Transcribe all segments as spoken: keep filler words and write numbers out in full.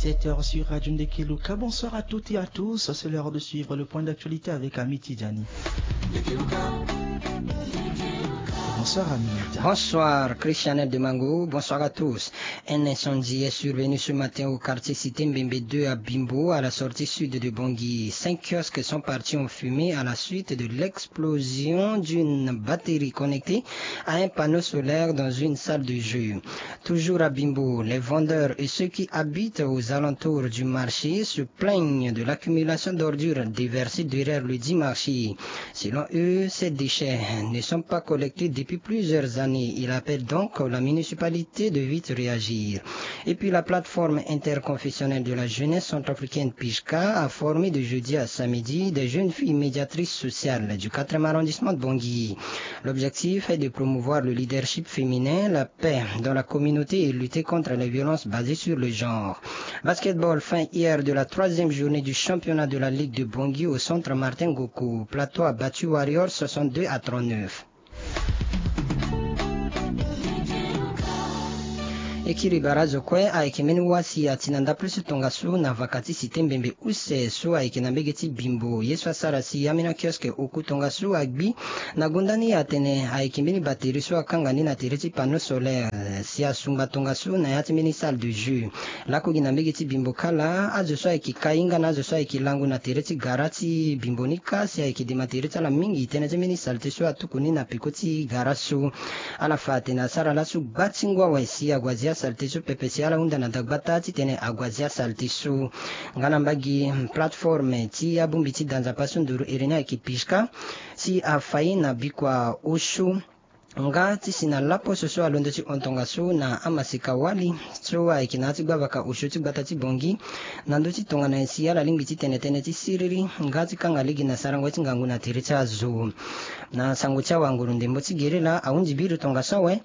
Sept heures sur Radio Ndekeluka. Bonsoir à toutes et à tous. C'est l'heure de suivre le point d'actualité avec Amity Diani. Bonsoir Aminata. Bonsoir Christianel Demango. Bonsoir à tous. Un incendie est survenu ce matin au quartier Cité Mbembe deux à Bimbo, à la sortie sud de Bangui. Cinq kiosques sont partis en fumée à la suite de l'explosion d'une batterie connectée à un panneau solaire dans une salle de jeu. Toujours à Bimbo, les vendeurs et ceux qui habitent aux alentours du marché se plaignent de l'accumulation d'ordures déversées derrière le dit marché. Selon eux, ces déchets ne sont pas collectés depuis plusieurs années. Il appelle donc la municipalité de vite réagir. Et puis la plateforme interconfessionnelle de la jeunesse centrafricaine, PIJCA, a formé de jeudi à samedi des jeunes filles médiatrices sociales du quatrième arrondissement de Bangui. L'objectif est de promouvoir le leadership féminin, la paix dans la communauté et lutter contre les violences basées sur le genre. Basketball, fin hier de la troisième journée du championnat de la Ligue de Bangui au centre Martin Ngoku. Plateau a battu Warriors soixante-deux à trente-neuf. E kiri bara azo kue ayeke mbeni wâ si a ti na ndapre so tongaso na vaka ti Cité Mbembe use so ayeke na mbege ti Bimbo. Ye so asara si ambeni akiosque oku tongaso agbi na gonda ni atene ayeke mbeni batterie so akanga ni na tere ti panneau solaire si asungba tongaso na ya ti mbeni salle de jeu. Laku gi na mbege ti Bimbo kâ laa, azo so ayeke kai nga na azo so ayeke lango na tere ti gara ti Bimbo ni kâ si ayeke dema tere ti ala mingi tënë ti mbeni saleté so atuku ni na peko ti gara so. Ala fa atene asara laso gba ti ngu awe si ague azia saleté so pepe si ala hunda na dagbata titene ague azia saleté so. Nga na mbage, plateforme ti abongbi ti da nzapa so nduru iri ni ayeke PIJCA si afa ye na bikua osio nga ti si na laposo so alondo ti hon tongaso na amaseka wali so ayeke na ya ti gbavaka osio ti gbata ti Bangui na ndö ti tongana nyen si ala lingbi ti tene tënë ti siriri nga ti kanga lege na sarango ti ngangu na tere ti azo. Na sango ti awa nguru ndembo ti gere laa ahundi biri tongaso awe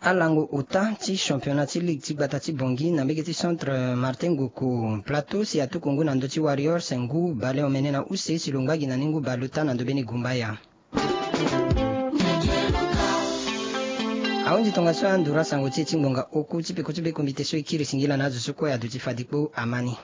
alango ota ti championnat ti ligue ti gbata ti Bangui na mbege ti centre Martin Ngoku. Plateau si atuku ngu na ndö ti Warriors ngu baleomene na use si lo ngba gi na ni ngu baleota na ndö mbeni gumbaya. Ahundi tongaso anduru asango ti e ti ngbonga oku ti peko ti be komite so e kiri singila na azo so kue aduti fade kpo amani.